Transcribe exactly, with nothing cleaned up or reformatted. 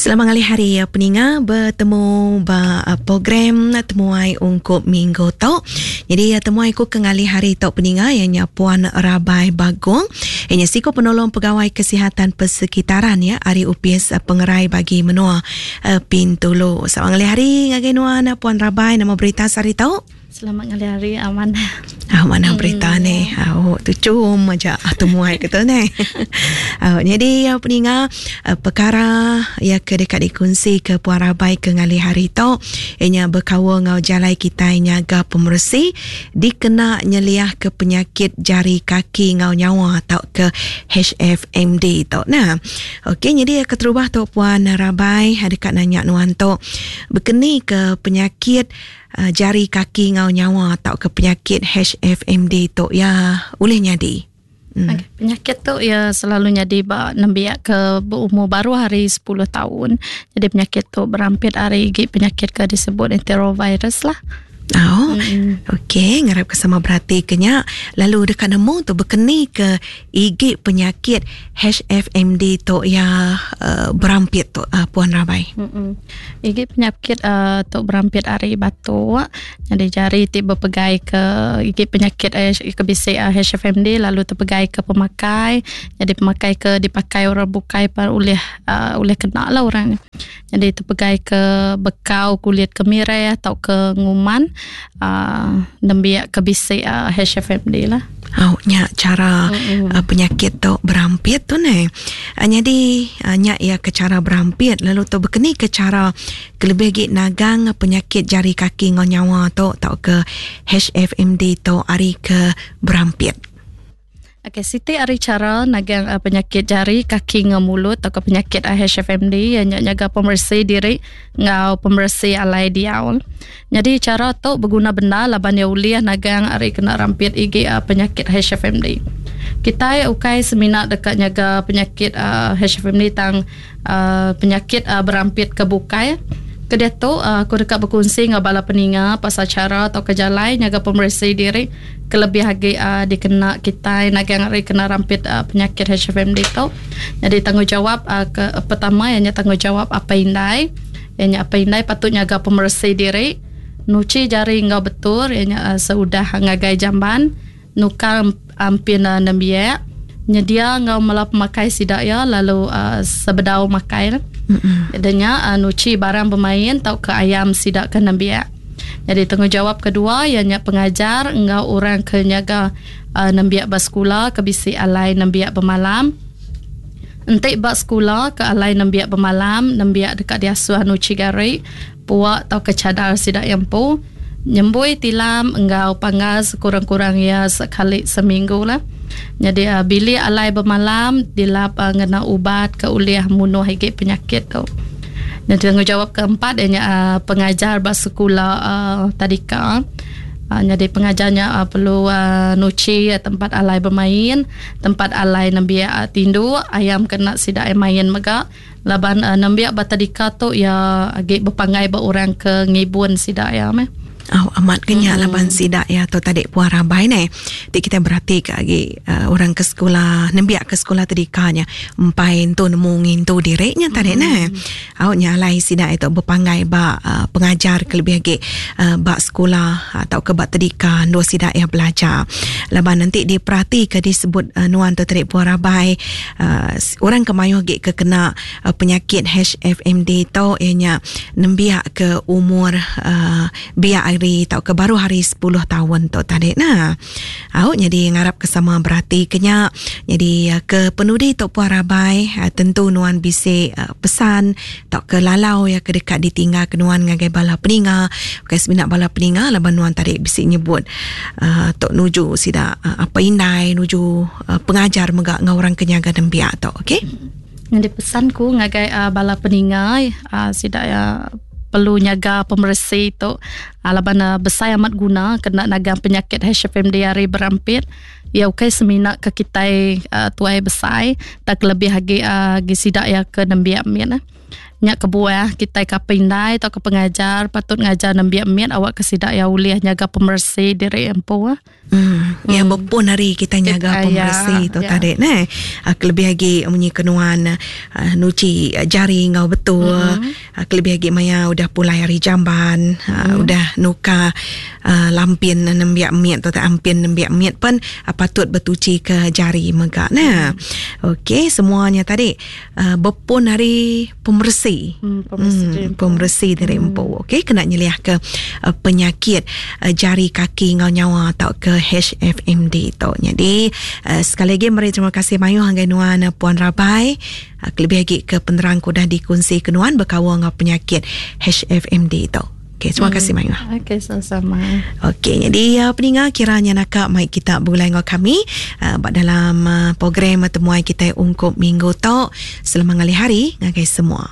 Selamat ngalih hari peninga, betemu ba program Temuai Ungkup Minggu tu. Jadi temuai ku ke ngalih hari tu peninga ianya Puan Rabai Bagong. Ianya siku penolong pegawai kesihatan persekitaran ya ari Upis Pengerai bagi menua Bintulu. Selamat ngalih hari ngagai nuan Puan Rabai, nama berita sehari tu? Selamat ngalih hari, aman. Ah, mana hmm. berita ni? Oh, tu cum aja temuai kita ni. Oh, jadi peninga, perkara ya ke dekat dikongsi ke Puan Rabai ke ngalih hari tu ianya berkaul ngau jalai kita nyaga pemersi dikena nyeliah ke penyakit jari kaki ngau nyawa atau ke H F M D tu. Nah, okey, jadi keterubah tu Puan Rabai dekat nanya nuan tu berkeni ke penyakit Uh, jari kaki ngau nyawa atau ke penyakit H F M D tu ya boleh nyadi. Hmm. Okay. Penyakit tu ya selalu nyadi ba nembiak ke berumur baru hari sepuluh tahun. Jadi penyakit tu berampit hari gig penyakit ke disebut enterovirus lah. Oh, mm-hmm. Okey, ngarap ke sama berarti kenya lalu dekat nemu tu berkeni ke igik penyakit H F M D tu ya uh, berampit tu uh, Puan Rabai. Mm-hmm. Igik penyakit uh, tu berampit ari batuk. Jadi jari ti berpegai ke igik penyakit eh, ke bisik uh, H F M D lalu terpegai ke pemakai. Jadi pemakai ke dipakai orang bukai par oleh uh, oleh kena lah orang. Jadi terpegai ke bekau kulit kemirai atau ke nguman. Uh, nembiak ke bisik uh, H F M D lah. Oh, nyak cara mm-hmm. uh, penyakit tu berampit tu ni. Uh, jadi uh, nyak ia ke cara berampit lalu tu berkeni ke cara kelebih gig nagang penyakit jari kaki ngau nyawa tu atau ke H F M D tu ari ke berampit. Okey, siti ari cara nagang uh, penyakit jari kaki ngau mulut atau ke penyakit uh, H F M D yang nyaga pemersi diri ngau pemersi alai diaul. Jadi cara tu berguna benda laban ya uliah nagang ari kena rampit igi uh, penyakit H F M D. Kita ukai semina dekat nyaga penyakit uh, H F M D tang uh, penyakit uh, berampit ke bukai. Kedia tu aku dekat berkongsi dengan bala peninga pasal cara atau kejalai nyaga pemersi diri kelebih lagi uh, dikena kita nagang hari kena rampit uh, penyakit H F M D tu. Jadi tanggungjawab uh, ke, uh, pertama ianya tanggungjawab apa indai. Ianya apa indai patut nyaga pemersi diri, nuci jari ngau betul ianya uh, seudah ngagai jamban, nukar ampin uh, nembiak, nyedia ngau melap makai sidak ya lalu uh, sebedau makai. Adanya uh, nuci barang bermain tau ke ayam sidak ke nembiak. Jadi tanggungjawab kedua ianya pengajar engau orang ke nyaga uh, nembiak bersekolah ke bisi alai nembiak bermalam. Entik bak sekolah ke alai nembiak bermalam, nembiak dekat diasuh nuci gari, puak tau ke cadar sidak yang pu, nyembui tilam engau panggal sekurang-kurang ya sekali seminggu lah. Jadi uh, bilik alai bermalam dilap uh, ngena ubat ke uliah munuh higit penyakit tu. Dan tanggungjawab keempat ianya uh, pengajar bersekolah uh, tadika. Uh, jadi pengajarnya uh, perlu uh, nuci uh, tempat alai bermain, tempat alai nembiak uh, tindu, ayam kena sidak main mega. Laban uh, nembiak batadika tu ya agak berpanggai ba orang ke ngibun sidak ya meh. Oh, amat kenya hmm. laban sidak ya tu tadi Puan Rabai ni. Ti kita berhati ke lagi uh, orang ke sekolah, nembiak ke sekolah tadikanya empai tu nemu ngintu diriknya tadi hmm. ne. Au nyalai sidak itu berpanggai ba uh, pengajar ke lebih lagi uh, ba sekolah atau ke ba tadika dua sidak ya belajar. Laban nanti diperhati ke disebut uh, nuan tu tadi Puan Rabai uh, orang kemayuh ge ke kena uh, penyakit H F M D tu ianya nembiak ke umur uh, biak hari atau ke baru hari sepuluh tahun tu tadi nah. Au jadi ngarap ke sama berarti kenya. Jadi ke penudi tu Puan Rabai tentu nuan bisi pesan atau ke lalau ya ke dekat ditinggal ke nuan ngagai bala peninga. Okey sebinak bala peninga laban nuan tadi bisi nyebut uh, tok nuju sida uh, apa indai nuju uh, pengajar megak ngau orang kenyaga nembiak tu okey. Jadi pesanku ngagai uh, bala peninga uh, sida ya perlu nyaga pemersi tu alaban uh, besar amat guna kena nagang penyakit H F M D hari berampit ya okey semina ke kita uh, tuai besar tak lebih lagi uh, gi sidak ya ke nembiak min eh. Nyak kebuah kita ke pindai atau ke pengajar patut ngajar nembiak miat awak ke sidak ya ulih nyaga pemersi diri empu. Hmm, ya hmm. Berpun hari kita nyaga pemersi ya, tu ya. Tadi neh. Kelebih lagi munyi kenuan uh, nuci jari ngau betul. Mm-hmm. Kelebih lagi maya udah pulai hari jamban, mm. uh, udah nuka uh, lampin nembiak miat tu tak ampin nembiak miat pun uh, patut bertuci ke jari megak nah. Mm. Okey, semuanya tadi uh, berpun hari pemersi. Hmm, pemersi hmm, diri empu. Pemersi diri empu. Hmm. Okey, kena nyeliah ke uh, penyakit uh, jari kaki ngau nyawa atau ke H F M D tu. Jadi uh, sekali lagi meri terima kasih mayu hanggai nuan uh, Puan Rabai. Uh, kelebih lagi ke penerang ku dah dikongsi ke nuan berkawal ngau penyakit H F M D tu. Okey, terima kasih hmm. Mayu. Okey, sama-sama. Okey, jadi uh, peninga kiranya nakak mai kita bergulai dengan kami uh, dalam uh, program temuai kita ungkup minggu tu. Selamat ngalih hari ngagai semua.